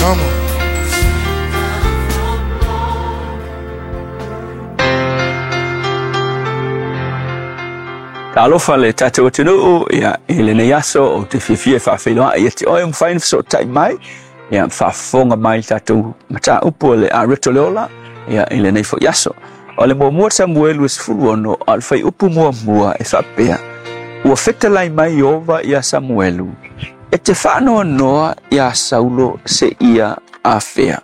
Come on. Talofa le tatou atunuu, ia, i lenei aso ou te fiafia e faafeiloai ia te oe ua mafai ona fesootai mai, ia, faafofoga mai i le tatou mataupu o le Areto le Ola, ia, i lenei foi aso. O le muamua Samuelu e 16, a o le fuaiupu muamua e faapea, Ua fetalai mai Ieova iā Samuelu, e te faanoanoa iā Saulo seia afea.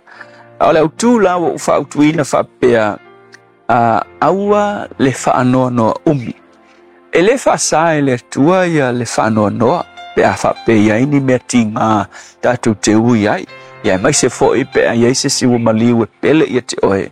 A o le autu la ua ou faautuina faapea, a aua le faanoanoa umi. E le faasa e le Atua ia le faanoanoa pe a faapea i ai ni mea tiga tatou te ui ai, ia aemaise foi pe a i ai se isi ua maliu e pele ia te oe,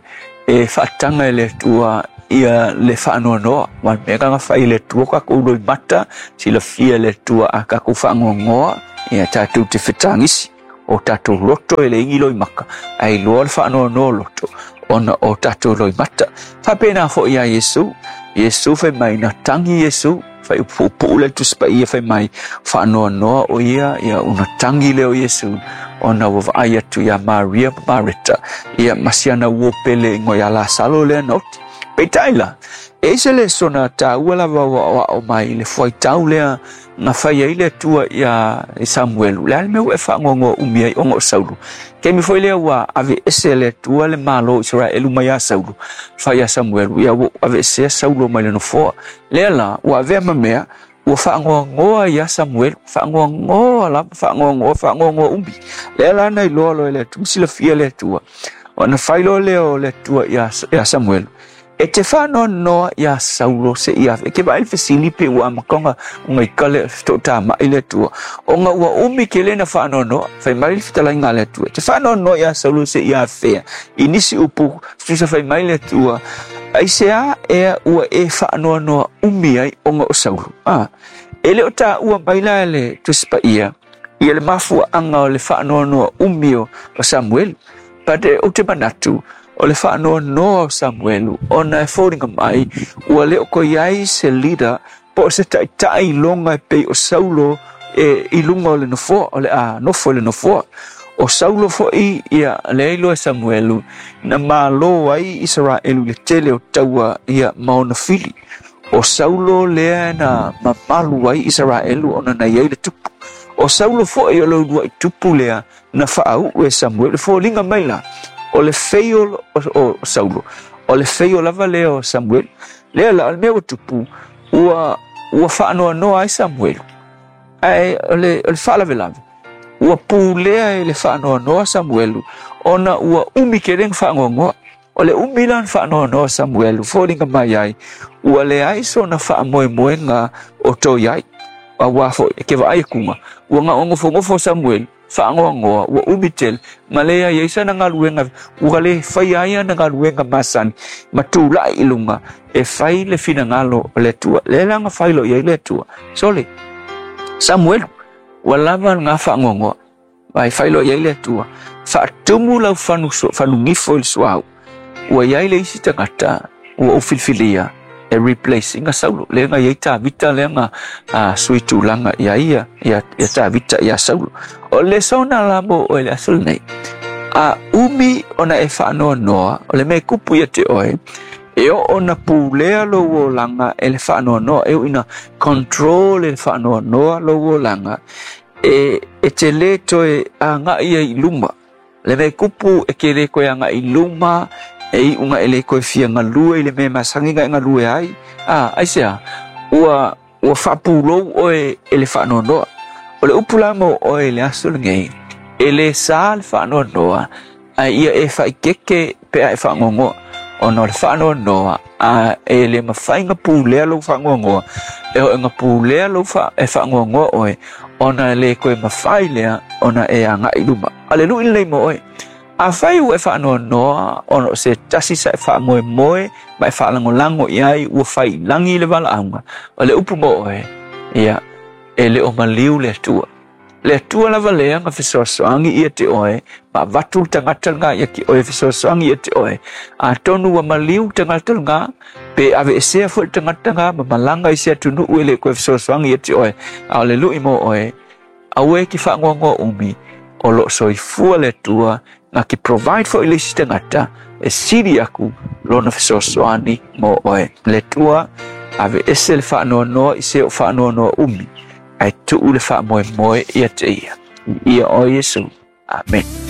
e faataga e le Atua ia le faanoanoa. Aua o le mea lena na fai e le Atua tatou loimata, silafia e le Atua a tatou faanoanoa, ia tatou te fetagisi. O tatou loto e leai ni loimata, ae iloa le faanoanoa o loto ona o tatou loimata. Faapena foi ia Iesu. Iesu fai mai na tagi Iesu, fai upuupuu le Tusi Paia fai mai, faanoanoa o ia, ia una tagi lea o Iesu, ona ua vaai atu ia Maria ma Mareta, ia ma si ana uo pele ingoa ia Lasalo lea na oti. Peitai la, e ese le sona taua lava ua aoao mai le fuaitau lea na fai ai le Atua ia Samuelu, le a le mea ua e faanoanoa umi ai ona o Saulo. Taimi foi lea ua aveese e le Atua le Malo o Isaraelu mai ia Saulo, fai ia Samuelu, ia ua aveesea Saulo mai le nofoa. Lea la, ua avea ma mea, ua faanoanoa ia Samuelu, faanoanoa lava, faanoanoa, faanoanoa umi. Lea la na iloa loa e le Atua, silafia le Atua. Ona fai loa lea o le Atua ia Samuelu, E te faanoanoa iā Saulo seia afea. E ke vaai i le fesili pe ua amata ona ika le toʻatamai le Atua, ona ua umi tele na faanoanoa. Fai mai le fetalaiga a le Atua, e te faanoanoa iā Saulo seia afea. I nisi upu, tusa fai mai le Atua, aisea ea ua e faanoanoa umi ai ona o Saulo? A, e le o taua mai la e le Tusi Paia ia le mafuaaga o le faanoanoa umi o Samuelu. But ou te manatu, o le faanoanoa o Samuelu, ona e foliga mai ua le o toe i ai se leader po o se taitai iloga e pei o Saulo e i luga o le nofoa, o le a nofo i le nofoa. O Saulo foi ia lea iloa e Samuelu na malo ai Isaraelu i le tele o taua ia ma ona fili. O Saulo lea na mamalu ai Isaraelu ona na i ai le tupu. O Saulo foi o le uluai tupu lea na faauu e Samuelu. E foliga mai la, o le feio o Saulo, o le feio lava lea o Samuelu. Lea la, o le mea ua tupu, ua, ua faanoanoa ai Samuelu. Ae o le, o le faalavelave, ua pulea e le faanoanoa Samuelu, ona ua umi tele ona faanoanoa. O le umi la ona faanoanoa Samuelu, foliga mai ai, ua leai sona faamoemoega o toe ai. Aua foi, e ke vaai akuga, ua nofonofo Samuelu, faanoanoa, ua umi tele, ma leai ai sana galuega, ua le faia ai ana galuega masani, ma tulai i luga, e fai le finagalo o le Atua. Lea la na fai loa i ai le Atua. Sole, Samuelu, ua lava lena faanoanoa. Ae fai loa i ai le Atua, Faatumu lau fanu, fanugifo i le suauu, ua i ai le isi tagata ua ou filifilia e replace ina Saulo. Lea na i ai Tavita lea na sui tulaga ia ia, ia, ia Tavita ia Saulo. O le lesona la mo oe le aso lenei, a umi ona e faanoanoa, o le mea e kupu ia te oe, e oo ona pulea lou olaga e le faanoanoa, e ui ina control e le faanoanoa lou olaga, e, e te lē toe agaʻi ai i luma. Le mea e kupu e ke lē toe agaʻi i luma, e iʻuga e lē toe fia galue i le mea e masani ona e galue ai. A, aisea? Ua, ua faapulou oe e le faanoanoa. O le upu la mo oe i le aso lenei, e lē sa le faanoanoa, ae ia e faaeteete pe a e faanoanoa. Ona o le faanoanoa, a e le mafai ona pulea lou faanoanoa, e oo ina pulea lou fa, e faanoanoa oe, ona e le toe mafai lea ona e agai i luma. A o le lui lenei mo oe, afai ua e faanoanoa ona o se tasi sa e faamoemoe ma e faalagolago i ai ua fai i lagi le valaauga, o le upu mo oe, ia, e le o maliu le Atua. Le Atua lava lea na fesoasoani ia te oe, ma avatu le tagata lena ia te oe e fesoasoani ia te oe. Atonu ua maliu le tagata lena, pe aveesea foi le tagata lena ma malaga i se atunuu e le toe fesoasoani ia te oe. A o le lui mo oe, aua e te faanoanoa umi, O loo soifua le Atua na te provide foi le isi tagata e sili aku lona fesoasoani mo oe. Le Atua aveese le faanoanoa i se o faanoanoa umi, ae tuu le faamoemoe ia te ia. Ia oe Iesu. Amen.